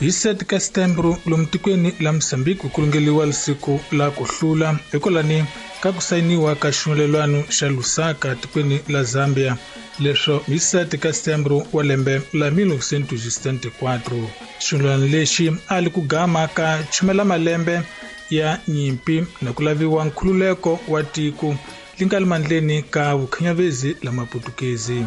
Hi 7 ka Setembro lomu tikweni la Mozambique ku lungeliwa siku la ku hlula hikwalani ka ku sayiniwa ka xipfumelelwano xa Lusaka tikweni la Zambia, leswo hi 7 ka Setembro wa lembe la 1974. Xipfumelelwano lexi a li ku gama ka chumela malembe ya nyimpi na ku laviwa nkhululeko wa tiko li nga le mandleni ka vukhinyavezi la maputukezi.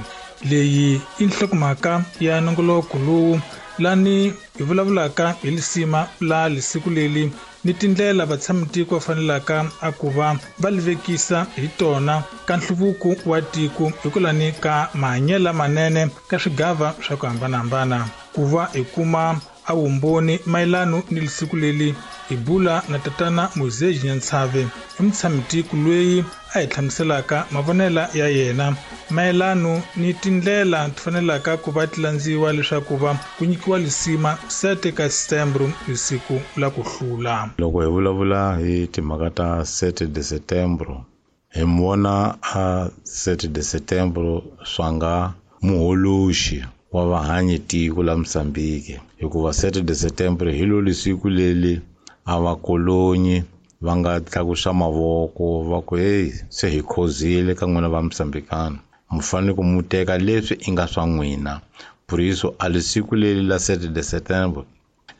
Leyi i nhlokomhaka ya nongoloko lowu lani hi vulavulaka hi lisima la lisiku leli ni tindlela vatshamitiko va fanelaka a ku va va li vekisa hi tona ka nhluvuko wa tiko hikwalani ka mahanyelo lamanene ka swigava swa ku hambanahambana. Ku va hi kuma a vumbhoni mayelano ni lisiku leli hi bula na tatana Moisés Nyantsave, i mutshamitiko loyi a hi hlamuselaka mavonelo ya yena mayelano ni tindlela ti fanelaka ku va ti landziwa leswaku va ku nyikiwa lisima 7 ka Setembro hi siku la ku hlula. Loko hi vulavula hi timhaka ta 7 de Setembro, hi vona a 7 de Setembro swa nga muholoxi wa vahanyi tiko la Mozambique, hikuva 7 de Setembro hi lo lisiku leli a vakolonyi va nga tlakusa mavoko va ku hey, se hi khozile ka n'wina va Mozambikana, mu fanele ku mu teka leswi i nga swa n'wina. Por isso a lisiku leli la 7 de Setembro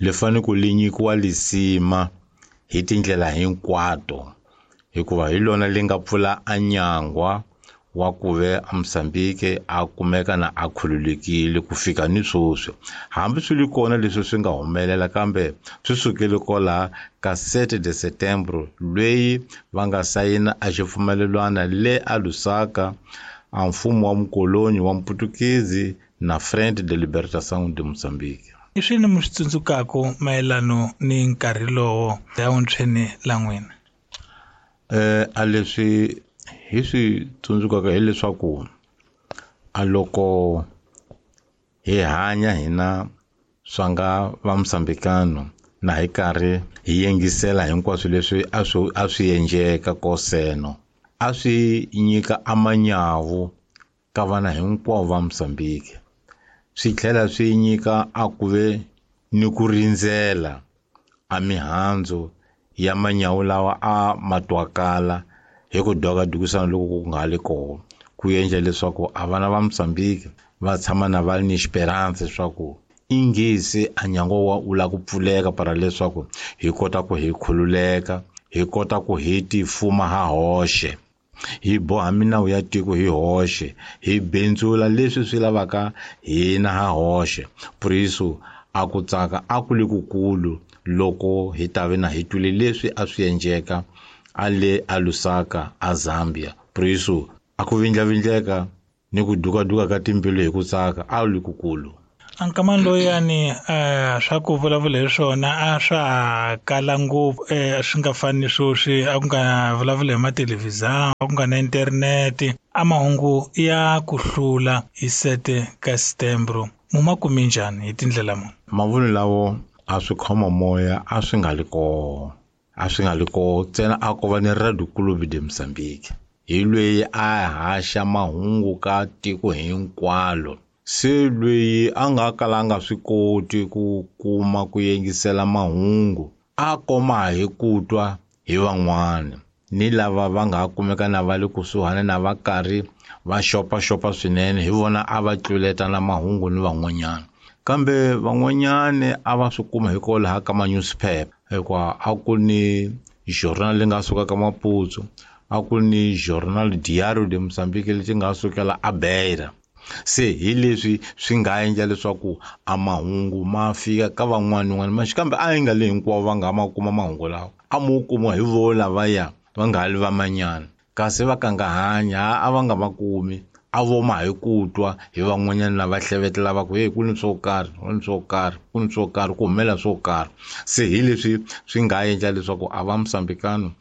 li fanele ku li nyikiwa lisima hi tindlela hinkwato, hikuva hi lona li nga pfula a nyangwa wa ku ve a Mozambique a kumeka na a khululekile ku fika ni sweswi. Hambi swi li kona leswi swi nga humelela, kambe swi sukele kwala ka 7 de Setembro lweyi va nga sayina a xipfumelelwana le a Lusaka a mfumo wa mukoloni wa Mputukezi na Frente de Libertação de Moçambique. I swini mi swi tsundzukaka mayelano ni nkarhi lowo ya vuntshweni la n'wina? A leswi hi swi tsundzukaka hileswaku a loko hi hanya hina swa nga va Mozambikano na hi karhi hi yingisela hinkwaswo leswi a swi endleka koseno, a swi nyika amanyawu ka vana hinkwavo va Mozambique, swi tlhela swi nyika a ku ve ni ku rindzela a mihandzu ya manyawu lawa a ma twakala hi ku dwakadukisana loko ku nga li kona, ku endla leswaku a vana va Mozambique va tshama na va ni esperanza leswaku ingisi a nyangwa wa u la ku pfuleka para leswaku hi kota ku hi khululeka, hi kota ku hi tifuma ha hoxe, hi boha minawu ya tiko hi hoxe, hi bindzula leswi swi lavaka hina ha hoxe. Por isso a ku tsaka a ku li kukulu loko hi ta ve na hi twile leswi a swi endleka a le a Lusaka a Zambia. Por isso a ku vindlavindleka ni ku dukaduka ka timbilu hi ku tsaka a li kukulu. A nkamani loyani swa ku vulavula hi swona a swa kala ngopfu, swi nga fani ni sweswi, a ku nga vulavuli hi mathelevhizani, a ku nga na internete. A mahungu ya ku hlula hi 7 ka Setembro mu ma kume njhani hi tindlela muni? Mavunwa lawo a swi khoma moya a swi nga li koho, a swi nga li koho ntsena a ko va ni Radio Clube de Mozambique hi lweyi a haxa mahungu ka tiko hinkwalo. Se lweyi a nga kala a nga swi koti ku kuma ku yingisela mahungu a koma hi ku twa hi van'wana ni lava va nga kumeka na va le kusuhani na va karhi va xopaxopa swinene, hi vona a va tluletana mahungu ni van'wanyana. Kambe van'wanyana a va swi kuma hikwalaho ka ma-newspaper, hikuva a ku ni journal leyi nga suka ka Maputo, a ku ni journal Diário de Moçambique leti nga sukela a Beira. Se hi leswi swi nga endla leswaku a mahungu ma fika ka van'wana ni van'wana, kambe a yi nga le hinkwavo va nga ma kuma mahungu lawa, a mo kuma hi vo lavaya va nga li va manyana, kasi va ka nga hanya a va nga ma kumi, a vo ma hi ku twa hi van'wanyana lava hlevetela va ku hey, ku ni swo karhi, ku ni swo karhi, ku ni swo karhi, ku humelela swo karhi. Se hi leswi swi nga endla leswaku a va Mozambikano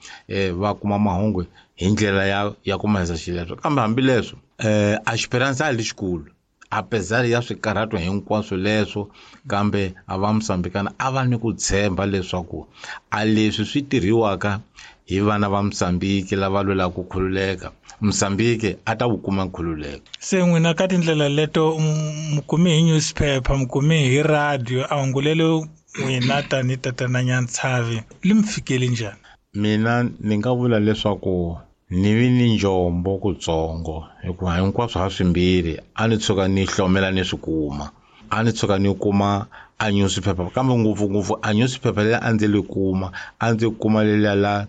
va kuma mahungu hi ndlela ya ku mahisa xileswo. Kambe hambileswo a esperanza a li xikulu, apesar ya swikarhato hinkwaswo leswo, kambe a va Mozambikana a va ni ku tshemba leswaku a leswi swi tirhiwaka hi vana va Mozambique lava lwelaka ku khululeka, Mozambique a ta wu kuma nkhululeko. Se n'wina ka tindlela leto mu kume hi newspaper, mu kume hi radio, a hungu lelo N'wina tani tatana Nyantshavi li mi fikeli njhani? Mina ni nga vula leswaku ni vi ni njombo kutsongo, hikuva hinkwaswo ha swimbirhi a ni tshuka ni hlomela ni swi kuma. A ni tshuka ni kuma a newspaper, kambe ngopfungopfu a newspaper leyi a ndzi li kuma, a ndzi kuma leliya la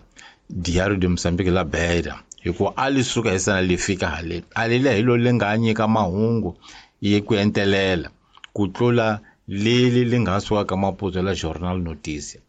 Diário de Moçambique la Beira, hikuva a li suka hi sana li fika haleni. A leliya hi lo li nga nyika mahungu ye ku entelela ku tlula leli li nga suka ka Maputo la Jornal Notícia.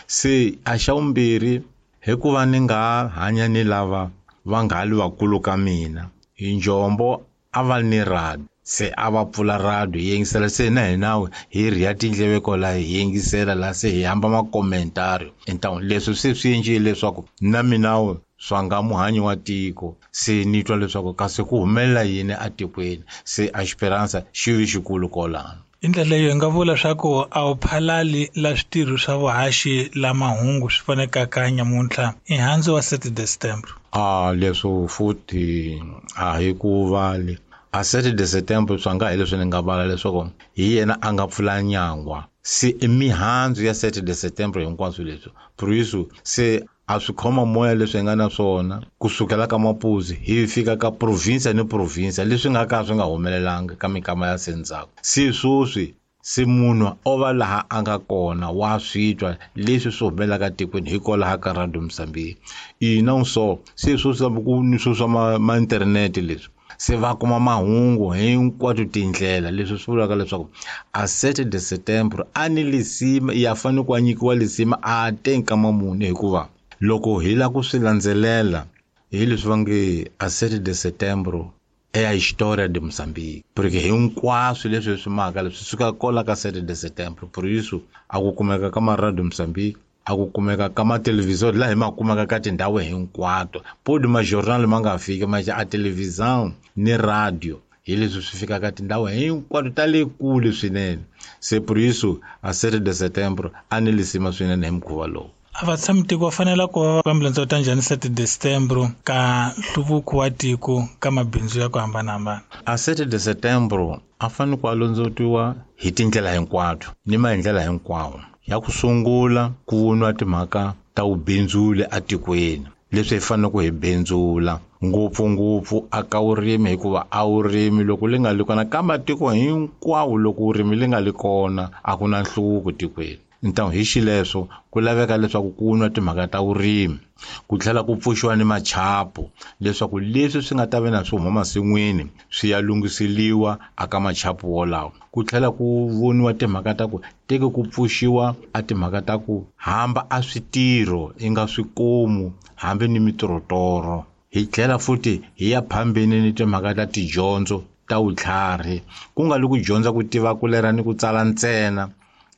Se a xa vumbirhi, hikuva ni nga hanya ni lava va nga li vakulu ka mina, hi njombo a va ni radio, se a va pfula radio hi yingisela, se na hina hi rhiya tindleve kwalaho hi yingisela la, se hi hamba makomentari. Então leswi se swi endlile leswaku na mina swa nga muhanyi wa tiko, se ni twa leswaku kasi ku humelela yini atikweni, se a Esperança xi vi xikulu kwalano. Hi ndlela leyo hi nga vula swa ku a wu phalali la switirho swa vuhaxi la mahungu swi vonekaka nyamuntlha i handzu wa 7 de setembro. A leswo futhi a hi ku vali a 7 de setembro swa nga hi leswi ni nga vala leswaku hi yena a nga pfula nyangwa, se i mihandzu ya 7 de setembro hinkwaswo leswi. Por isso se a swi khoma moya leswi hi nga na swona kusukela ka Maputo hi fika ka province ni province, leswi nga ka swi nga humelelanga ka minkama ya se ndzhaku. Se sweswi se munhu o va laha a nga kona wa swi twa leswi swi humelelaka tikweni hikwalaho ka Radio Mozambique. Ina so se sweswi hambi ku ni swo swa ma internet leswi, se va kuma mahungu hinkwato tindlela. Leswi swi vulaka leswaku a 7 de setembro a ni lisima ya fanele ku a nyikiwa lisima a te nkama muni, hikuva loko hi lava ku swi landzelela hi leswi va nge a 7 de setembro é a história de Moçambique, porque hinkwaswo leswi hi swi maka leswi suka kola ka 7 de setembro. Por isso a ku kumeka ka ma Radio Moçambique, a ku kumeka ka ma televisor laha hi ma kumeka ka tindhawu hinkwato, podi ma journal ma nga fiki ma a televisão ni radio, hi leswi swi fikaka tindhawu hinkwato ta le kule swinene. Se por isso a 7 de setembro a ni lisima swinene hi mukhuva lowu. A va tshami tiko va fanele ku va va ambulense ta njhani 7 de setembro ka nhluvuko wa tiko ka mabindzu ya ku hambanahambana? A 7 de setembro a fanele ku alondzetiwa hi tindlela hinkwato ni maendlela hinkwawo. Ya ku sungula ku voniwa timhaka ta vubindzuli atikweni, leswi hi fanele ku hi bindzula ngopfungopfu aka vurimi, hikuva a vurimi loko li nga li kona ka matiko hinkwawo, loko vurimi li nga li kona a ku na nhluvuko tikweni. Então hi xileswo ku laveka leswaku ku nwa timhaka ta vurimi, ku tlhela ku pfuxiwa ni machapu leswaku leswi swi nga ta va na swi huma masin'wini swi ya lunghiseliwa aka machapu wolawo. Ku tlhela ku voniwa timhaka ta ku teke ku pfuxiwa a timhaka ta ku hamba a switirho i nga swikomu hambi ni mitorotoro. Hi tlhela futhi hi ya phambeni ni timhaka ta tidyondzo ta vutlhari, ku nga li ku dyondza ku tiva ku lera ni ku tsala ntsena,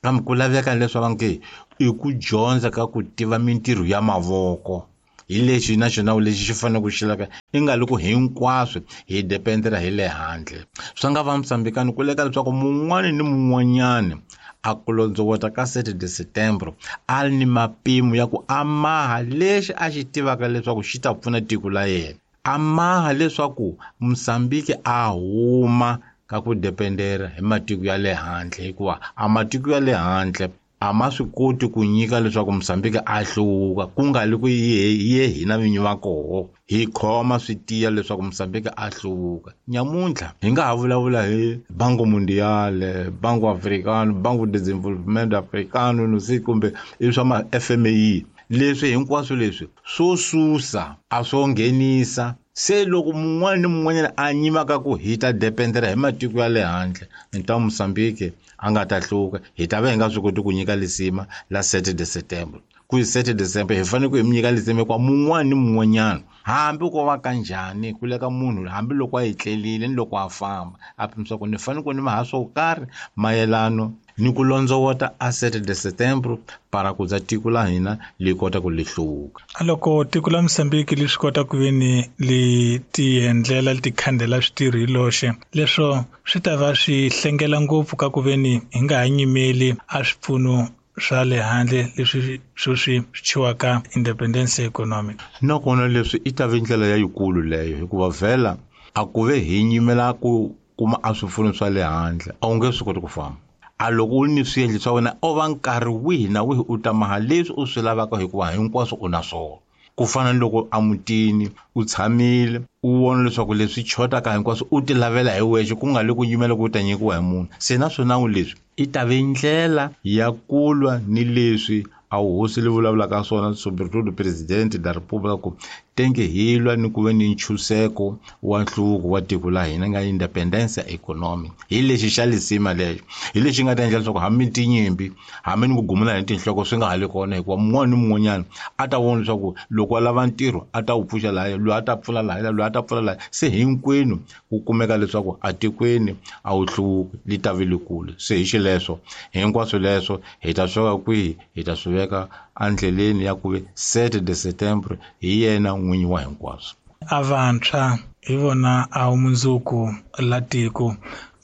kambe ku laveka leswaku nge i ku dyondza ka ku tiva mintirho ya mavoko. Hi lexi na xona lexi xi fanele ku xi laveka, i nga loko hinkwaswo hi dependela hi le handle. Swa nga va Mozambikani ku leka leswaku mun'wani ni mun'wanyani a ku londzovota ka 7 de setembro a ri ni mapimo ya ku a maha lexi a xi tivaka leswaku xi ta pfuna tiko la yena, a maha leswaku Mozambique a huma ka ku dependera hi matiko ya le handle, hikuva a matiko ya le handle a ma swi koti ku nyika leswaku Mozambique a hluvuka, ku nga li ku ye hina vinyi va koho hi khoma swi tiya leswaku Mozambique a hluvuka. Nyamuntlha hi nga ha vulavula hi Banco Mundial, Banco Africano, Banco de Desenvolvimento Africano, no sei kumbe i swa ma FMI. Leswi hinkwaswo leswi swo susa a swo nghenisa. Se loko mun'wana ni mun'wanyana a nyimaka ku hi ta dependera hi matiko ya le handle, ni ta Mozambique a nga ta hluka, hi ta va hi nga swi koti ku nyika lisima la 7 de setembro. Ku hi 7 de setembro hi fanele ku hi mi nyika lisima hikuva mun'wana ni mun'wanyana hambi ko va kanjhani ku leka munhu hambi loko a etlelile ni loko a famba a pimisa ku ni fanele ku ni maha swo karhi mayelano ni ku londzovota a 7 de setembro para ku za tiko la hina li kota ku li hluvuka. A loko tiko la Mozambique li swi kota ku ve ni li tiendlela li tikhandela switirho hi loxe, leswo swi ta va swi hlengela ngopfu ka ku ve ni hi nga ha nyimeli a swipfuno swa le handle leswi sweswi swi thyiwaka independence economic. Nakona leswi i ta ve ndlela ya yikulu leyo, hikuva vhela a ku ve hi nyimela ku kuma a swipfuno swa le handle a wu nge swi koti ku famba. A loko u ri ni swiendlo swa wena o va nkarhi wihi na wihi u ta maha leswi u swi lavaka hikuva hinkwaswo u na swona. Ku fana ni loko emutini u tshamile u vona leswaku leswi xotaka hinkwaswo u ti lavela hi wexe ku nga le ku yimela ku u ta nyikiwa hi munhu. Se na swona leswi i ta ve ndlela ya ku lwa ni leswi a hosi li vulavulaka swona, sobretudo presidente da república, ku tenge hi lwa ni ku ve ni ntshunxeko wa nhluvuko wa tiko la hina nga independence economic. Hi lexi xa lisima lexo, hi lexi nga ta endla leswaku hambi tinyimpi hambi ni ku gumula hi tinhloko swi nga ha li kona, hikuva mun'wana ni mun'wanyana a ta vona leswaku loko a lava ntirho a ta wu pfuxa lahaya, loyi a ta pfula lahaya, loyi a ta pfula lahaya. Se hinkwenu ku kumeka leswaku atikweni a wu hluvuki, li ta vi likulu. Se hi xileswo hinkwaswo leswo hi ta swi veka kwihi? Hi ta swi veka endleleni ya ku ve 7 de setembro hi yena n'winyi wa hinkwaswo. A vantshwa hi vona a mundzuku la tiko.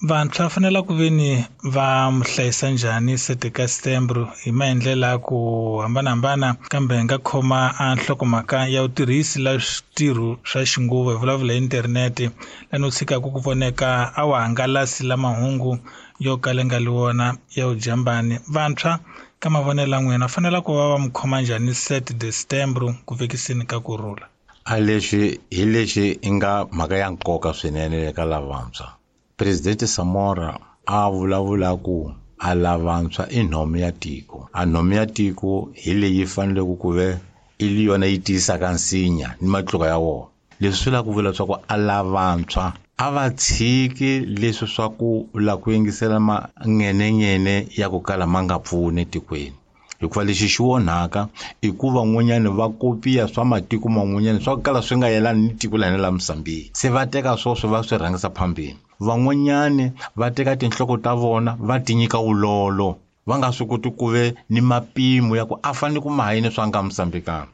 Vantshwa va fanele ku ve ni va mu hlayisa njhani 7 ka setembro hi maendlelo ya ku hambanahambana, kambe hi nga khoma a nhlokomhaka ya vutirhisi la switirho swa xinguva, hi vulavula hi internete, lani u tshikaka ku voneka a wa hangalasi la mahungu yo kala nga li wona ya vujambani. Vantshwa ka mavonelo ya n'wina fanele ku va va mu khoma njhani 7 de setembro ku vekiseni ka kurhula? A lexi hi lexi i nga mhaka ya nkoka swinene eka lavantshwa. Presidente Samora a vulavula ku a lavantshwa i nhomu ya tiko. A nhomu ya tiko hi leyi faneleke ku ve i yona yi tiyisaka nsinya ni matluka ya wona. Leswi swi lava ku vula leswaku a lavantshwa a va tshiki leswi swa ku la ku yingisela mangenengene ya ku kala ma nga pfuni etikweni. Hikuva lexi xi onhaka i ku van'wanyani va kopiya swa matiko man'wanyana swa ku kala swi nga yelani ni tiko la hina la Mozambique. Se va teka swoswo va swi rhangisa phambili. Van'wanyani va teka tinhloko ta vona va ti nyika wulolo, va nga swi koti ku ve ni mapimo ya ku a fanele ku maha yini swa nga Mozambique.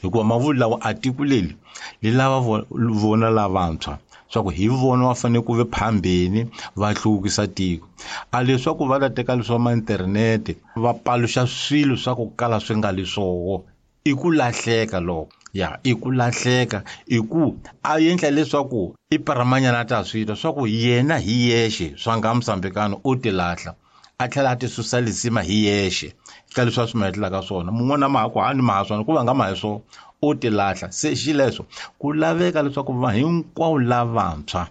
Hikuva mavulu lawa a tiko leri li lava vona lavantshwa swa ku hi vona va fanele ku ve phambeni va hluvukisa tiko. A leswaku va ta teka leswa ma internete va paluxa swilo swa ku kala swi nga li swoho i ku lahleka loko. Ya i ku lahleka, i ku a endla leswaku i paramanyana a ta swi twa swa ku yena hi yexe swa nga Mozambique u ti lahla, a tlhela a ti susa lisima hi yexe ka leswi a swi mahetelaka swona. Mun'wana ma ha ku hani ma ha swona ku va nga ma hi swona, u ti lahla. Se xileswo ku laveka leswaku va hinkwavo lavantshwa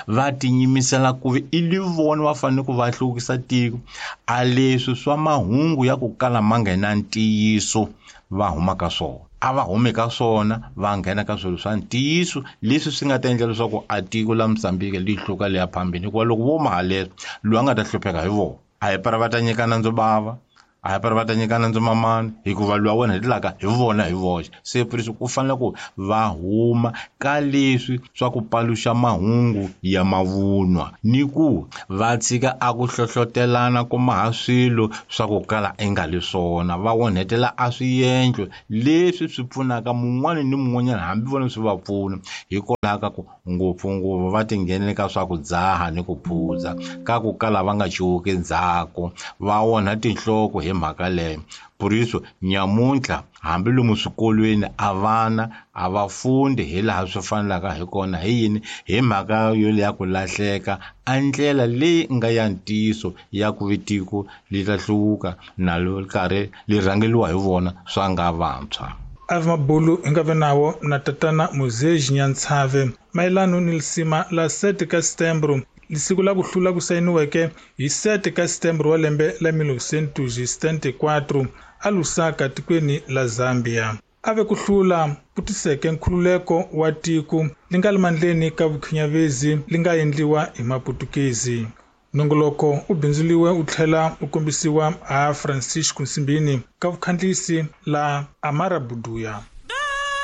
va tinyimisela ku ve i li vona va fanele ku va hluvukisa tiko. A leswi swa mahungu ya ku kala ma nga na ntiyiso va huma ka swona, a va humi ka swona va nghena ka swilo swa ntiyiso leswi swi nga ta endla leswaku a tiko la Mozambique li hluka le ya phambili. Hikuva loko vo maha leswo, loyi a nga ta hlupheka hi vona. A hi para va ta nyika nandzu bava, a hi para va ta nyika nandzu mamani, hikuva loyi wa wena hetelaka hi vona hi voxe. Se puriso ku fanele ku va huma ka leswi swa ku paluxa mahungu ya mavunwa ni ku va tshika a ku hlohlotelana ku maha swilo swa ku kala i nga li swona, va onhetela a swiendlo leswi swi pfunaka mun'wana ni mun'wanyana hambi vona swi va pfuna. Hikwalaho ka ku ngopfungopfu va tinghenele ka swa ku dzaha ni ku phuza ka ku kala va nga cuvuki ndzhaku, va onha tinhloko hi mhaka leyo. Puriso nyamuntlha hambi lomu swikolweni a vana a va fundi hi laha swi fanelaka hi kona. Hi yini? Hi mhaka yo ya ku lahleka a ndlela leyi nga ya ntiyiso ya ku ve tiko li ta hluvuka na lo karhi li rhangeliwa hi vona swa nga vantshwa. Ave mabulu hi nga ve nawo na tatana Muzeji Nyantsave mayelano ni lisima la 7 ka setembro, lisiku la ku hlula ku sayiniweke hi 7 ka setembro wa lembe la 1974 a Lusaka tikweni la Zambia. A ve ku hlula ku tiseke nkhululeko wa tiko li nga le mandleni ka vukhinyavezi li nga endliwa hi Maputukezi. Nongoloko u bindzuliwe u tlhela u kombisiwa a Francisco Nsimbini ka vukhandlisi la Amara Buduya.